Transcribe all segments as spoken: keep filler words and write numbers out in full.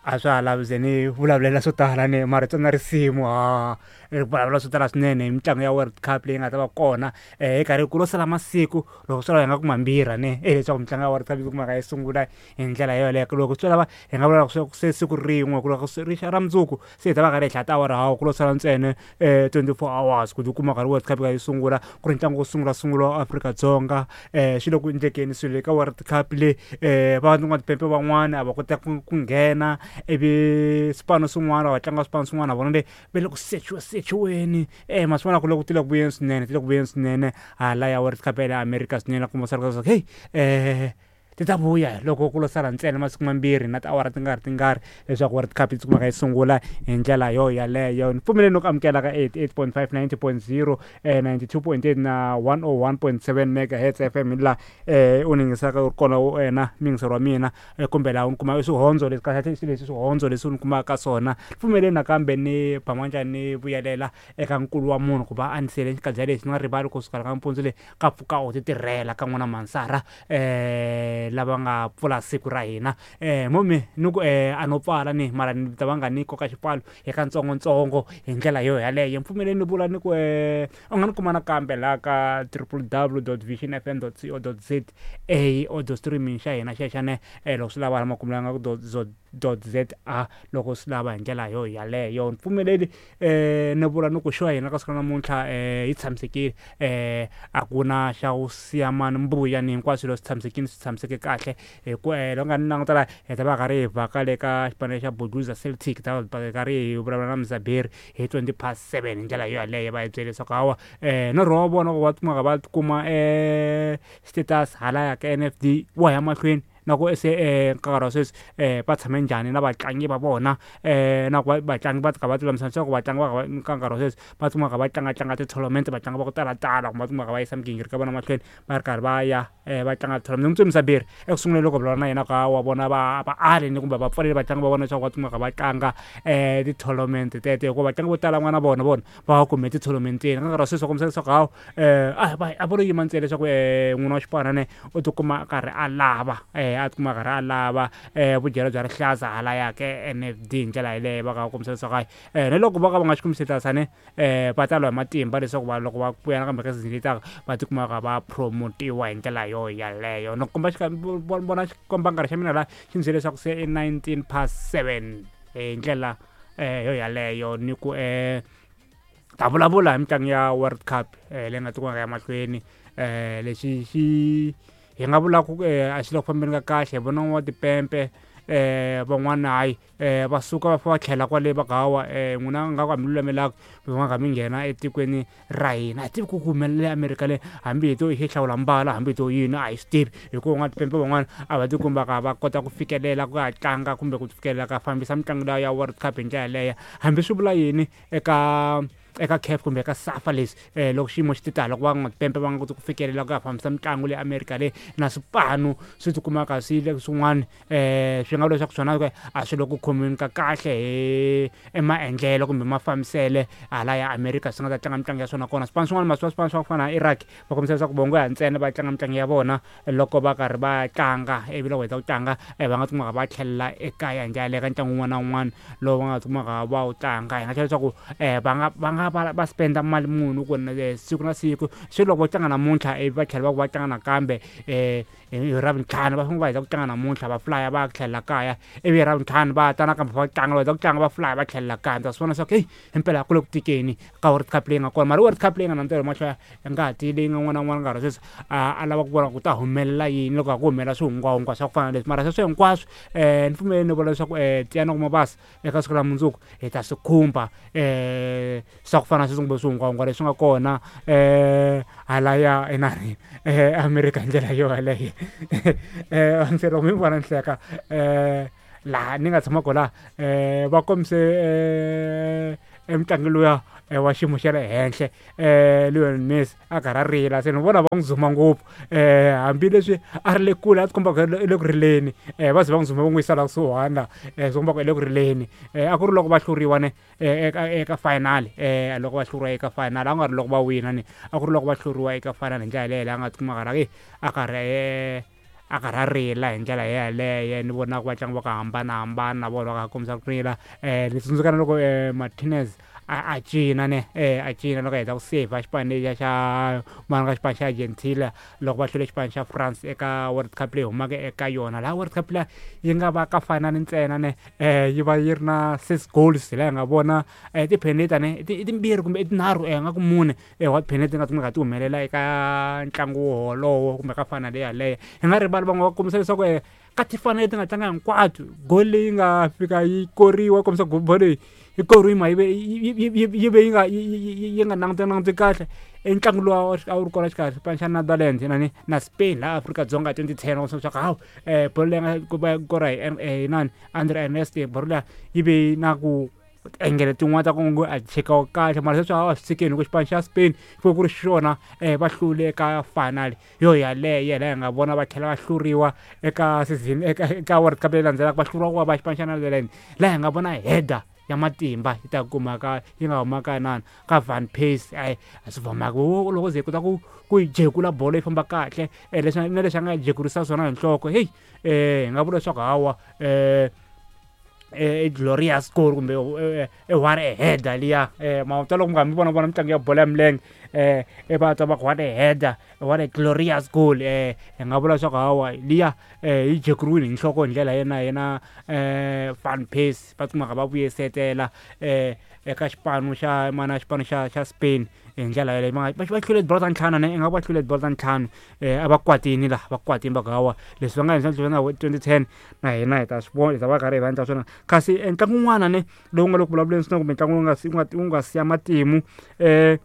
A swa ha lavi ze ni vulavulela swo tala ni marito na risimu ha ri vulavula swo tala swinene hi mitlangu ya World Cup leyi nga ta va kona um hi karhi ku lo sala masiku loko swi lava hi nga ku mambirhi ne e leswaku mitlangu ya World Cup yi kumaka yi sungula hi ndlela yoleyo. Loko swi lava hi nga vula ku se siku rin'we ku loko ri xa ra mundzuku se hi ta va karhi hi hlaya tiawara hawu ku lo sala ntsena um twenty-four hours ku tikuma karhi World Cup yi sungula ku ri ntlangu wo sungula sungula wa Afrika-Dzonga. um swi le ku endlekeni swilo ka World Cup leyi um van'watipempe van'wani a va kota ku ku nghena ivi swipano swin'wana va tlanga swipano swin'wana na vona le va le ku sechiwa sechiweni um ma swi vona ku loko ti le ku vuyeni swinene ti le ku vuyeni swinene hala ya World Cup ya le America swinene kuma swa leswaku heyi um ti ta vuya loko ku lo sala ntsena masiku mambirhi na tiawara ti nga ri tingari leswaku World Cup yi kumeka yi sungula hi ndlela yo yaleyo. Ni pfumeleni ku amukela ka eighty-eight point five ninety point zero ninety-two point eight na one oh one point seven megahertz F M laha um u ni yingisaka u ri kona wena muyingiseri wa mina kumbe laha u ni kuma swihondzo leswi kahle leswi swihondzo leswi u ni kumaka ka swona. Pfumeleni nakambe ni ba manjani ni vuyelela eka nkulu wa munhu ku va a ni siyele xikadya lexi ni nga rivali kusuka ka mpundzu leyi ka pfuka u ti tirhela ka n'wana Mansara um lava nga pfula siku ra hina. um momi ni ku um a no pfala ni mara ni ta va nga ni koka xipfalo hi katsongotsongo hi ndlela yo yaleyo. Mpfumeleni ni vula ni ku um u nga ni kuma nakambe laha ka triple w dot vision f m dot co dot z a audio streaming xa hina xexo ne loko swi lava hala makumu la nga ku dot dot z a loko swi lava hi ndlela yo yaleyo. Ni pfumeleli um ni vula ni ku xo hina ka siku ra namuntlha um yi tshamisekile um a ku na xa ku siya mani mbuya ni hinkwaswo swilo swi tshamisekile swi tshamiseke kahle hi ku um loko nga ni languta laha hi ta va karhi hi vhaka le ka xipano xa Buduza Celtic ta va karhi hi vulavula na Mzaberi hi twenty past seven hi ndlela yo yaleyo va hi byele leswaku hawa um norho wa vona ku va kumaka va kuma um status halaya ka N F D wa ya mahlweni na ku se um nkarhi wa sweswi um va tshame njhani na vatlangi va vona um na ku vatlangi va ka va tilulamisa leswaku vatlangi va ka nkarhi wa sweswi va kumaka va tlangatlanga ti-tournament vatlangi va ku talatala kumbe va kumaka va yisa migingiriko ya vona mahlweni va ri karhi va ya um va tlanga tournament. Ni Mzaberi eku sunguleni loko vulavula na yena ka wa vona va va ali ni kumbe va pfaleli vatlangi va vona leswaku va kumaka va tlanga um ti-tournament tete hikuva vatlangi vo tala n'wana vona vona va va kume ti-tournamenteni ka nkarhi wa sweswi va kombisa leswaku hawu um a a vo lo yima ntsena leswaku um n'wina wa xipano ne u tikuma a karhi a lava um a tikuma karhi a lava um vudyelo bya rihlaza halaya ka N F D hi ndlela yeleyo va ka kombisa leswaku hayi um na loko va ka va nga xi kombisi tasane um va ta lwa hi matimba leswaku va loko va vuya nakambe ka season leyi taka va tikumaka va promotiwa hi ndlela yo yaleyo. Ni komba vona xikombankarhi xa mina laha xi ni byele leswaku se i nineteen past seven hi ndlela um yo yaleyo ni ku um ta vulavula hi mitlangu ya World Cup um leyi nga tikumaka ya mahlweni um lexi xi hi nga vula ku a xi le ku fambeni ka kahle hi vona n'watipempe um van'wana hayi um va suka va fa va tlhela kwale va ku hawa um n'wina nga ku a mi lulamelaka va nga mi nghena etikweni ra hina. A hi tivi ku ku humelela Amerika le hambi hi to hi hlawula mbala hambi hi to yini a hi swi tivi hikuva n'watipempe van'wana a va tikumbaka va kota ku fikelela ku ya tlanga kumbe ku fikelela ka fambisa mitlangu liya ya World Cup hi ndlela yaleyo hambi swi vula yini eka eka C A F kumbe eka SAFA leswi um loko xiyimo xi ti tala loko van'watipempe va nga koti ku fikelela ku ya fambisa mitlangu le Amerika le na swipano swi tikumaka swi le swin'wana um swi nga vula leswaku swona a swi le ku khomiweni ka kahle hi emaendlelo kumbe mafambisele hala ya Amerika swi nga ta tlanga mitlangu ya swona kona. Swipano swin'wana masiku swipano swa ku fana na Iraq va kombisa leswaku vongo ya ntsena va tlanga mitlangu ya vona loko va karhi va tlanga ivi loko heta ku tlanga va nga tikumaka va tlhelela ekaya hi ndlela yaleyo ka ntlangu wun'wana na wun'wana lowu va nga tikumaka va wu tlanga. Hi nga tlhela leswaku um va nga va nga va va spenda mali muni ku siku na siku swi loko va tlanga namuntlha ivi va tlhela va ku va tlanga nakambe um hi Ravuntlhanu va fanele va heta ku tlanga namuntlha va flya va tlhelela kaya ivi hi Ravuntlhanu va ta nakambe va tlanga va heta ku tlanga va flya va tlhelela kaya. Ta swi vona leswaku heyi himpela ku le ku tikeni ka World Cup leyi nga kona mara World Cup leyi nga na ntirho mahlo ya ngati leyi nga n'wana na n'wana nkarhi wa sweswi a lava ku vona ku ta humelela yini loko ha ku humelela swihungwahungwa swa ku fana na leswi mara sweswo hinkwaswo um ni pfumeleni ni vula leswaku um tiyani ku mabasa eka siku ra mundzuku hi ta swi khumba um swa ku fana na sweswi kumbe swihungwahungwa leswi nga kona um halaya enani um Amerika hi ndlela yo yaleyo. um se loko mi vona ni hleka um laha ni nga tshama kona um va kombise um emutlangi luya wa xiyimo xa le henhla um Lionel Messi a karhi a rila se ni vona va n'wi zuma ngopfu um hambileswi a ri le kule a tikomba ku i le ku rileni um va ze va n'wi zuma va n'wi yisa la kusuhana um swi komba ku i le ku rileni um a ku ri loko va hluriwa ne eka eka final um loko va hluriwa eka final a ku nga ri loko va wina ni a ku ri loko va hluriwa eka final hi ndlela yaleyo a nga tikuma karhi a karhi a karhi a rila hi ndlela yeleyo ni vona ku vatlangi va ku hambanahambana na vona va kha kombisa ku rila um ni tsundzuka na loko um Martinez a a cina ne eh a cina loko a heta ku save xipano lexiya xa mani ka xipano xa Argentina loko va hlule xipano xa France eka World Cup leyi humaka eka yona laha World Cup liya yi nga va ka final ntsena ne eh yi va yi ri na six goals hi laha hi nga vona eh tipheneta ne i timbirhi kumbe i tinharhu eh nga ku mune eh wa tipheneta ti nga ti nga ti humelela eka ntlangu wolowo kumbe ka final yaleyo hi nga rivali van'we va kombisa leswaku eh ka tifanele ti nga tlanga hinkwato goal leyi nga fika yi koriwa kombisa bolo leyi yi koriwe ma yi ve yi ve yi nga yi nga langutangi kahle i ntlangu lowu a wu ri kona xikarhi xipano xa Netherlands na na Spain laha Afrika-Dzonga twenty ten wa leswaku hawu um bolo leyi nga va kora hi hi nani Andre Ernest bolo liya yi ve na ku engele tin'wana ta ku ngo a chekiwa kahle mara sweswi a swi tshikeni hikuva xipano xa Spain ku ku ri xona um va hlule eka final yo yaleyo laha hi nga vona va tlhela va hluriwa eka season eka eka World Cup leyi landzelaka va hluriwa ku va va xipano xa Netherlands laha hi nga vona header ya matimba yi ta kumaka yi nga humaka nani ka Van Persie a a swi vamaka loko ze hi kota ku ku yi jekula bolo yi famba kahle leswi na leswi a nga jekurisa swona hi nhloko heyi um hi nga vula leswaku hawa um e glorious goal kumbe e what a header liya um ma ta loko mi nga mi vona vona mitlangu ya bolo ya milenge um e va twa va ku what a header what a glorious goal um hi nga vula leswaku hawa liya um yi jekuriwile hi nhloko hi ndlela yena yena um Van Persie va kumaka va vuyesetela um eka xipano xa mana xipano xa xa Spain hi ndlela yaleyo va va hlule tibolo ta ntlhanu ne i nga va hlule tibolo ta ntlhanu um a va kwatini laha va kwatini va ku hawa leswi va nga endla na twenty ten na hina hi ta swi vona hi ta va karhi hi va endla swona kasi ntlangu wun'wana ne lowu nga le ku vulavuleni swinene kumbe ntlangu wu nga wu nga wu nga siya matimu um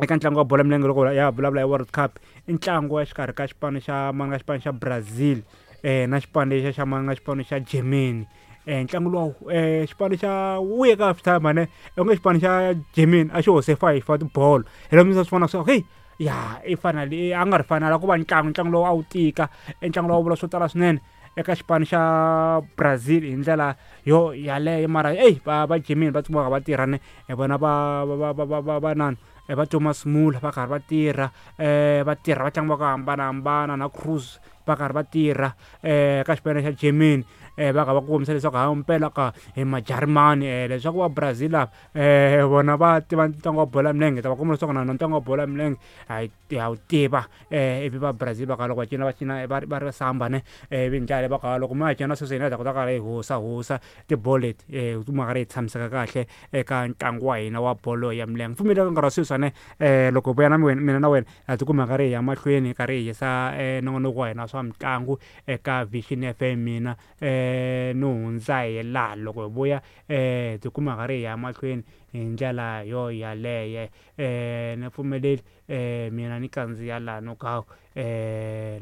eka ntlangu wa bolo ya milenge loko ya vulavula hi World Cup i ntlangu wa xikarhi ka xipano xa manga xipano xa Brazil um na xipano lexiya xa manga xipano xa Germany um ntlangu lowu um xipano xa wuye ka half time ne onge xipano xa Germany a xi hose five wa tibolo hi loko mi swi vona swa hey ya i final a nga ri final a ku va ntlangu ntlangu lowu a wu tika i ntlangu lowu vula swo tala swinene eka xipano xa Brazil hi ndlela yo yaleyo mara eyi va va Germany va tsumaka va tirha ne hi vona va va va va va va nani va Thomas Muller va karhi va tirha um va tirha vatlangi va ku hambanahambana na Cruz va karhi va tirha um ka xipano xa Germany um va kha va kombisa leswaku hayi mpela ka hi majarimani um leswaku va Brazil lava um vona va tiva ntlangu wa bolo ya milenge ta va komba leswaku na ntlangu wa bolo ya milenge ha ha wu tiva um ivi va Brazil va kha loko va cina va cina va va ri samba ne ivi hi ndlela va kha loko mi nga cina sweswi hina hi ta kota karhi hi hosa hosa tibolo leti um kuma karhi hi tshamiseka kahle eka ntlangu wa hina wa bolo ya milenge pfumeleka nkarhi wa sweswi ne um loko vuya na mina na wena ha tikuma karhi hi ya mahlweni karhi hi yisa um nongonoko wa hina swa mitlangu eka Vision F M mina um no hundza hi laha loko hi vuya um tikuma karhi hi ya mahlweni hi ndlela yo yaleyo um ni pfumeleli um mina ni kandziya laha no ka um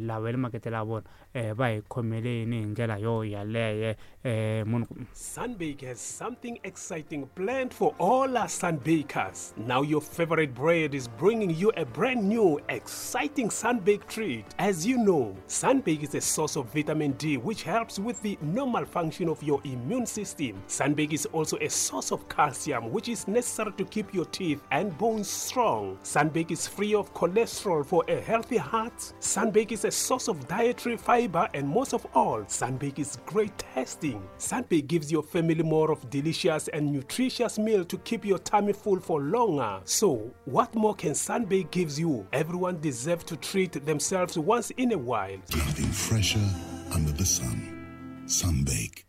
lava va le makete la vona um va hi khomeleni hi ndlela yo yaleyo um munhu Sunbake has something exciting planned for all our Sunbakers. Now your favorite bread is bringing you a brand new, exciting Sunbake treat. As you know, Sunbake is a source of vitamin D which helps with the normal function of your immune system. Sunbake is also a source of calcium which is necessary to keep your teeth and bones strong. Sunbake is free of cholesterol for a healthy heart. Sunbake is a source of dietary fiber, and most of all, Sunbake is great tasting. Sunbake gives your family more of delicious and nutritious meal to keep your tummy full for longer. So, what more can Sunbake gives you? Everyone deserves to treat themselves once in a while. Nothing fresher under the sun. Sunbake.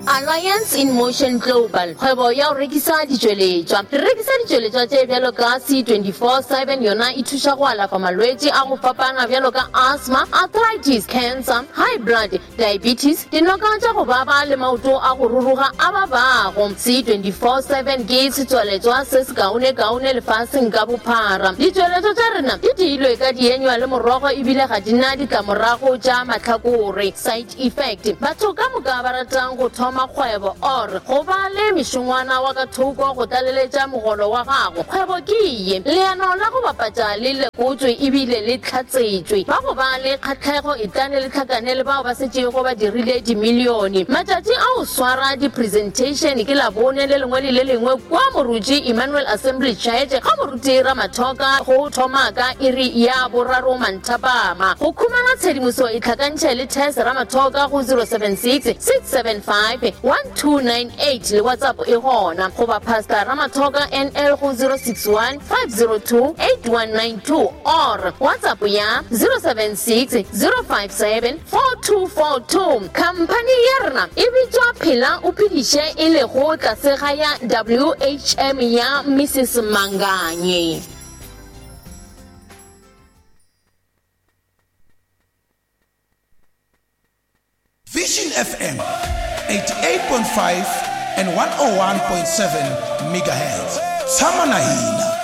Alliance in Motion Global, kgwebo ya go rekisa ditšweletšwa. Re rekisa ditšweletšwa tše bjalo ka C twenty-four seven, yona e thuša go alafa malwetši a go fapana bjalo ka asthma, arthritis, cancer, high blood, diabetes, dinoka tša go baba le maoto a go ruruga a babago. C twenty-four seven ke setsweletšwa se se kaone-kaone lefaseng ka bophara. Ditšweletšwa tša rena di diilwe ka dienywa le morogo ebile ga di na ditlamorago tša mahlakore, side effect. Batho ka moka ba ratang go thoma thoma kgwebo or go ba le mešongwana wa ka thoko go tlaleletša mogolo wa gago, kgwebo ke ye. Leano la go bapatša le lekotšwe ebile le hlatsetšwe. Ba go ba le kgahlego etlane le hlakane le bao ba setšego ba dirile dimilione. Matšatši a go swara di-presentation ke Labone le lengwe le le lengwe kwa Moruti Emmanuel Assembly Church ga Moruti Ramathoka go thoma ka iri ya boraro manthapama. Go khumana tshedimoso e tlhakantšhe le Tess Ramathoka go zero seven six, six seven five, one two nine eight le WhatsApp e gona, goba Pastor Ramathoka N L go zero six one, five zero two, eight one nine two or WhatsApp ya zero seven six, zero five seven, four two four two. Khamphani ya rena e bitswa Phela o Phediše e lego tlase ga ya W H M ya Missus Manganye. Vision F M eighty-eight point five and one oh one point seven megahertz. Tshama na hina.